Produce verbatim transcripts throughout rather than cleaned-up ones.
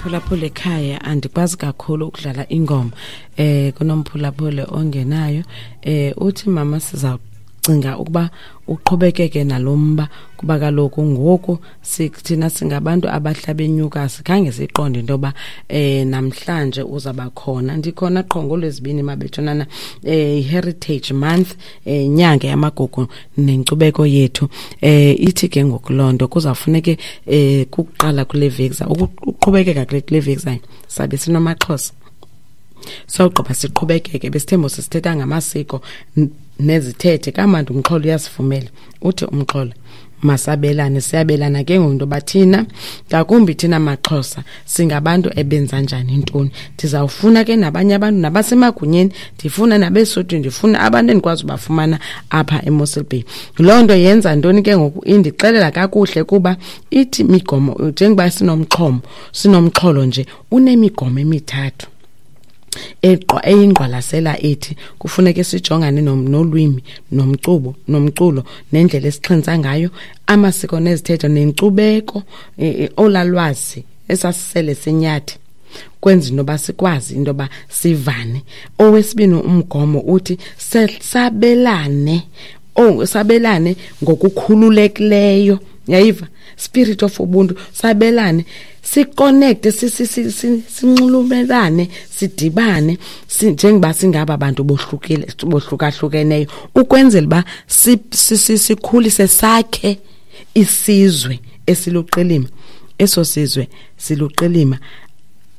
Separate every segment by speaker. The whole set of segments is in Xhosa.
Speaker 1: Mphulaphula ekhaya, andikwazi kakhulu ukudlala ingoma. eh kunomphulaphula ongenayo, eh uthi mama sizacinga ukuba uqhubekeke nalomba, kuba kaloku ngoku thina singabantu abahlaba enyuka, sikhange siqonde into yoba eh namhlanje uzaba khona. Ndikhona qho ngolwezibini mabethunana, eh Heritage Month, eh inyanga yamagugu nenkcubeko yethu. Eh ithi ke ngoku loo nto kuzawufuneke eh kuqala kule veki, ukuqhubekeka kule veki sabe sinomaXhosa. Sawugqiba siqhubekeke, besithembu sisithetha ngamasiko nezithethe, kamandi umxholo uyasivumela. Uthi umxholo masabelane, siyabelana ke ngoku into yoba thina, ngakumbi thina maXhosa, singabantu ebenza njani ntoni. Ndizawufuna ke nabanye abantu nabasemagunyeni, ndifuna nabeSuthu, ndifuna abantu endikwazi ubafumana apha eMossel Bay. Loo nto yenza ntoni ke ngoku? Indixelela kakuhle kuba ithi migomo, njengoba sinomxhomo, sinomxholo nje unemigomo emithathu eyingqwalasela ethi kufuneke sijongane nolwimi, nomcubo, nomculo, nendlela esixhentsa ngayo, amasiko nezithethe nenkcubeko, olalwazi esasisele sinyathi, kwenza into yoba sikwazi into yoba sivane. Owesibini umgomo uthi sabelane, oh sabelane ngokukhululekileyo, yayiva, spirit of ubuntu, sabelane, siconnect, sinxulumelane, sidibane njengoba singaba bantu bohlukile, bohlukahlukeneyo, ukwenzela uba sikhulise, sakhe isizwe esiluqilima. Eso sizwe siluqilima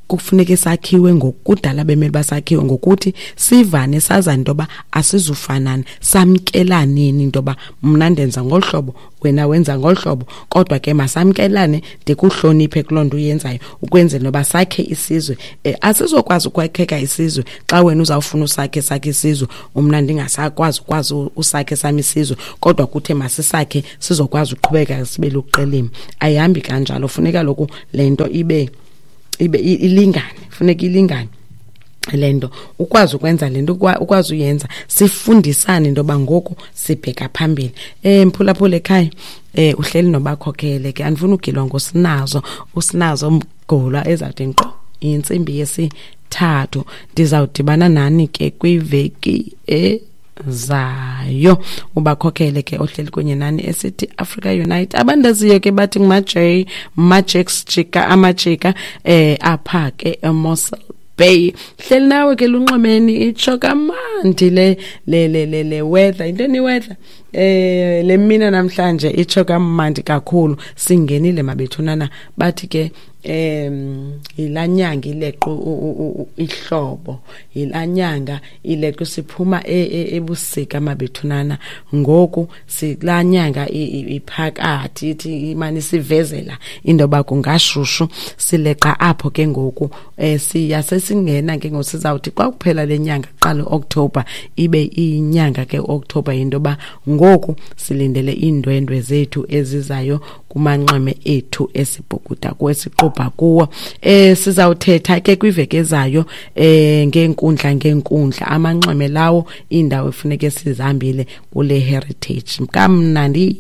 Speaker 1: kufuneke sakhiwe ngokudala, bemele basakhiwe ngokuthi sivane, sazane into yoba asizufanana, samkelaneni into yoba mna ndenza ngolu hlobo, wena wenza ngolu hlobo, kodwa ke masamkelane, ndikuhloniphe kuloo nto uyenzayo, ukwenzela noba sakhe isizwe. Eh, asizokwazi ukwakheka isizwe xa wena uzawufuna usakhe sakhe isizwe, umna ndingasakwazi ukwazi usakhe sami isizwe, kodwa kuthe masisakhe sizokwazi uqhubeka sibe luqilima. Ayihambi kanjalo, funeka lokhu le nto ibe ibe ilingane, funeka ilingane le nto, ukwazi ukwenza le nto, ukwazi uyenza, sifundisane into yoba ngoku sibheka phambili. Eh mphulaphula ekhaya, eh uhleli nobakhokhele ke, andifuni ugilwa ngosinazo, usinazo mgulwa ezawuthi nkqo intsimbi yesithathu. Ndizawudibana nani ke kwiveki ezayo. Ubakhokhele ke ohleli kunye nani esithi Africa Unite. Abandaziyo ke bathi nguma-J, Majex Jika, amajika eh apha ke eMossel Bay. Hleli nawe ke lunxwemeni, itsho kamandi le le le le, le weather, intoni weather eh le mina namhlanje itsho kamandi kakhulu. Singenile mabethunana, bathi ke em ilanyanga ileqo ihlobo, ilanyanga ileqo, siphuma ebusika mabethunana, ngoku silanyanga iphakathi, ithi imani sivezela into yoba kungashushu, sileqa apho ke ngoku. Eh siya sesingena ke ngoku, sizawuthi xa kuphela le nyanga, qala October, ibe inyanga ke October into yoba ngoku silindele iindwendwe zethu ezizayo kumanxweme ethu esibhukuda kwesiqubha kuwo. Eh sizawuthetha ke kwiveki ezayo eh ngeenkundla ngeenkundla, amanxweme lawo, iindawo efuneke sizihambile kule heritage. Kamnandi.